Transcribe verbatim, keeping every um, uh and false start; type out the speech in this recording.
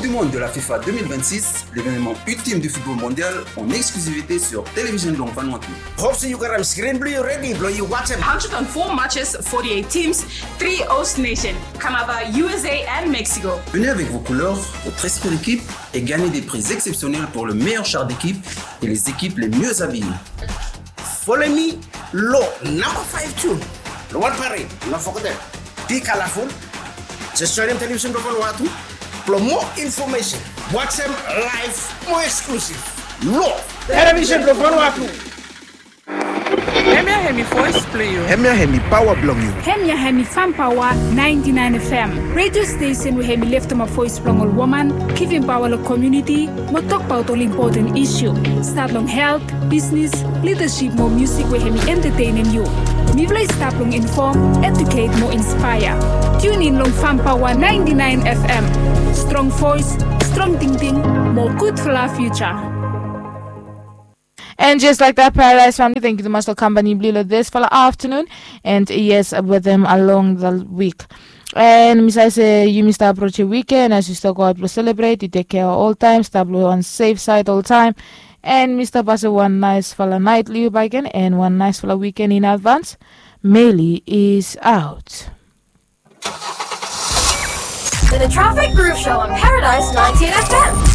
Du monde de la FIFA deux mille vingt-six, l'événement ultime du football mondial en exclusivité sur Télévision Long Vanuatu. Hope se yu gat skrin blong yu redi blong yu wajem. Hundred and four matches, forty-eight teams, three host nation, Canada, U S A and Mexico. Venez avec vos couleurs, votre esprit d'équipe et gagnez des prix exceptionnels pour le meilleur char d'équipe et les équipes les mieux habillées. Follow me long namba five tu long wan parade, no fogetem. Be colorful. Just join Television Vanuatu blong more information. Wajem live, more exclusive. Long Television Vanuatu. Hemia hemi voice blong yu. Hemia hemi paoa blong yu. Hemia hemi Fam Paoa ninety-nine F M, radio station we hemi leftemap voice blong ol woman, givim paoa long komuniti, mo tokbaot ol impoten isu. Stat long helt, bisnis, lidasip mo musik we hemi entatenem yu. Mifala i stap long infom, eduket mo inspaea. Tune in long Fam Paoa ninety-nine F M. Strong voice, strong tingting, mo gudfala fiuja. And just like that, Paradise family, thank you tumas long kampani blong yu long disfala afternoon. And yes, wetem along the week. And mi save se yumi stap aprojem weekend, as yu stap go aot blong selebret, yu tek kea oltaem, stap long wan safe side oltaem. And mi stap pasem wan naesfala naet long yu bakegen and wan naesfala weekend in advance. Meli is out. The Traffic Groove Show on Paradise ninety-eight F M.